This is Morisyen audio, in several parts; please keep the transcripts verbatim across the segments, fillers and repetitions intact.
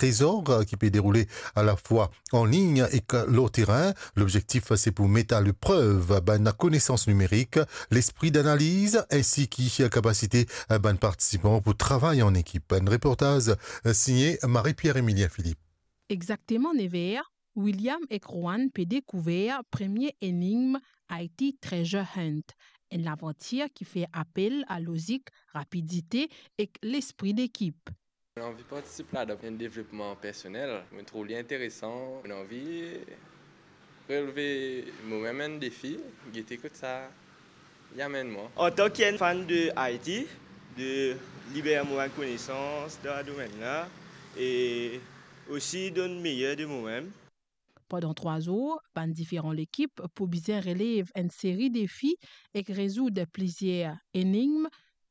Trésor, eh, ki pe deroule alafwa an lign ek lor terin. Lobzektif, se pou met a leprev bann konesans nimerik, lespri danaliz, ensi ki kapasite bann partisipan pou travay an ekip. Enn reportaz, eh, signe Marie-Pierre Emilien Philippe. Exakteman nev er, William ek Rowan pe dekouver premie enigm I T Treasure Hunt, enn lavantir ki fer apel a lozik, rapidite ek lespri dekip. Mo anvi partisip ladan, enn devlopman personel. Mo trouv li interesan. Mo anvi releve momem enn defi, gete kot sa li amenn mwa. Antan ki enn fan de I T, de liber mo bann konesans dan domenn la e osi donn meyer de momem. Pandan trwa zour, bann diferan lekip pou bizin relev enn seri defi ek rezoud plizier enigm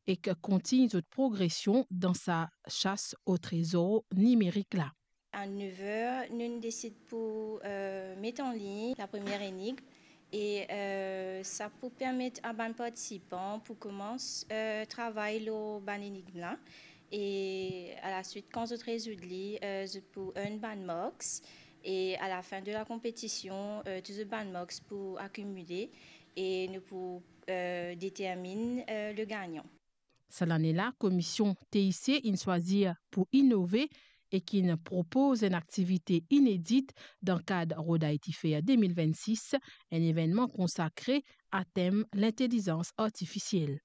ek kontign zot progresion dan sa sas o trezor nimerik la. A nev er, nou desid pou, eh, met an lign lapremier enigm e, eh, sa pou permet a bann partisipan pou koumans, eh, travay lor bann enigm la. E alaswit, kan zot rezoud li, eh, zot pou earn bann marks. E alafin de la konpetision, eh, tou zot bann marks pou akimile e nou pou, eh, determinn, eh, le gagnan. Sa lane la, Komisyon T I C inn swazir pou inove ek inn propoz enn aktivite inedit dan kad Road I T Fair de mil vennsis, enn evennman konsakre a tem lintelizans artifisiel.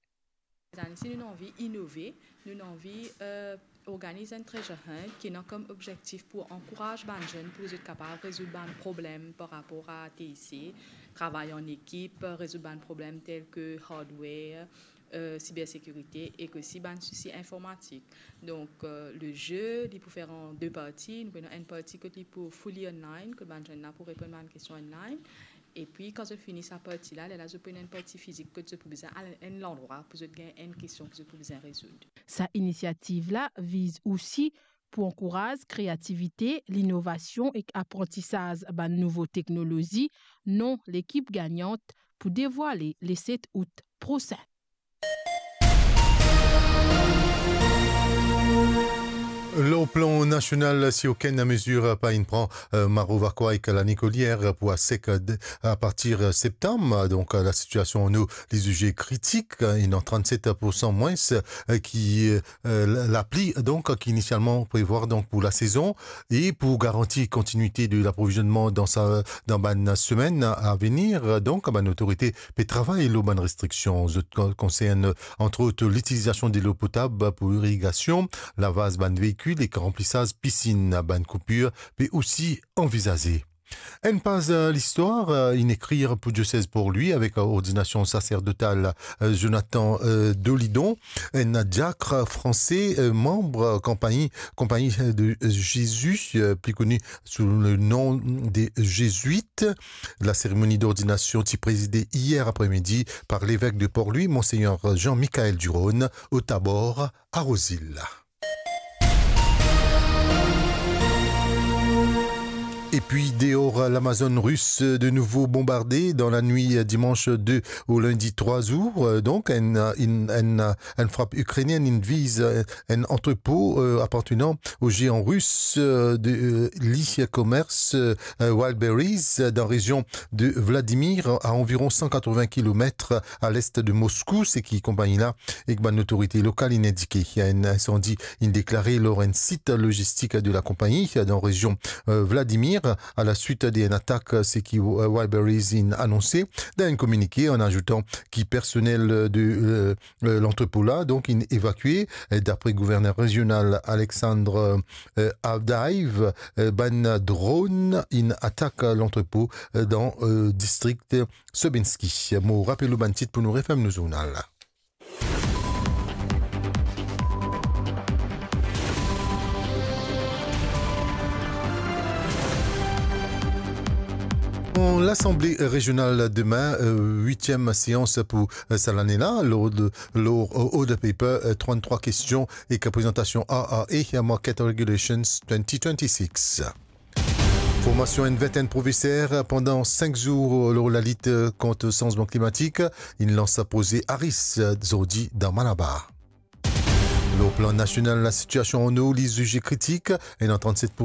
Zani, si nou anvi inove, nou anvi, eh, organiz enn treasure hunt ki ena kom obzektif pou ankouraz bann zenn pou zot kapav rezoud bann problem par rapor a T I C, travay an ekip, rezoud bann problem tel ke hardware, eh, sibersekirite ek osi bann sousi informatik. Donk, eh, le ze, li pou fer an de parti. Nou pou ena enn parti kot li pou fully online, kot bann zenn la pou reponn bann kestion online. Epi, kan zot fini sa parti la, lerla zot pou ena enn parti fizik kot zot pou bizin al enn landrwa pou zot gagn enn kestion ki zot pou bizin rezoud. Sa inisiativ la viz osi pou ankouraz kreativite, linovasion ek aprantisaz bann nouvo teknolozi. Non lekip gagnant pou devwale le set out prosin. Lor plan nasional, si okenn mezir pa inn pran, eh, Maro Vacoas ek Lani Colière pou asek, eh, de, a partir, eh, septam. Donk, eh, lasitiasion an nou, li zize kritik, eh, ena trannset poursan mwins, eh, ki, eh, eh, la-, lapli, donk, ki inisialman prevwar, donk, pou lasezon e pou garanti kontinuite de laprovizionman dan sa, dan bann semenn a venir. Donk, bann otorite pe travay lor bann restriksion. Zot kon-, konsern, antre ot, litilizasion delo potab pou irigasion, lavaz bann veikil ek ranplisaz pisinn. Bann koupir pe osi anvizaze. Enn paz, eh, listwar, eh, inn ekrir pou diosez Port-Louis avek, eh, ordinasion saserdotal, eh, Jonathan, eh, Dolidon, enn diak franse, eh, manb, eh, konpagni, konpagni, eh, de, eh, Jésus, eh, pli koni sou le nom de Jésuites. Laseremoni dordinasion ti prezide iyer apremidi par levek de Port-Louis, Monseigneur Jean-Michael Durosne, o Tabor, a Rosil. Epi deor, Lamazonn ris de nouvo bonbarde dan lanwit dimans de o lindi trwa zour. Donk, enn, enn, enn, enn frap ikrenienn inn viz enn antrepo, eh, apartenan o zean ris, eh, de, eh, li komers, eh, Wildberries, eh, dan rezion de Vladimir, a anviron san katrovin kilomet a lest de Moskou, seki konpagni la ek bann otorite lokal inn indike. Enn insandi inn deklare lor enn sit lozistik de lakonpagni dan rezion, eh, Vladimir, a laswit de enn atak, seki, eh, Wildberries inn anonse dan enn kominike, an azoutan ki personel de, eh, eh, lantrepo la, donk, inn evakue. Eh, dapre gouverner rezional Alexandre, eh, Avdayev, eh, bann dronn inn atak lantrepo, eh, dan, eh, distrik Sobinsky. Mo rapel ou bann tit pou nou referm nou zournal. An Lasanble Rezional demin, eh, witiem seans pou, eh, sa lane la, lord, lord, eh, Order Paper, eh, tranntrwa kestion ek prezantasion R R A, Market Regulations twenty twenty-six. Formasion enn vintenn profeser pandan sink zour lor lalit kont sanzman klimatik, inn lans proze ARIS zordi dan Malabar. Lor plan nasional, lasitiasion an Nor li zize kritik, ena trannset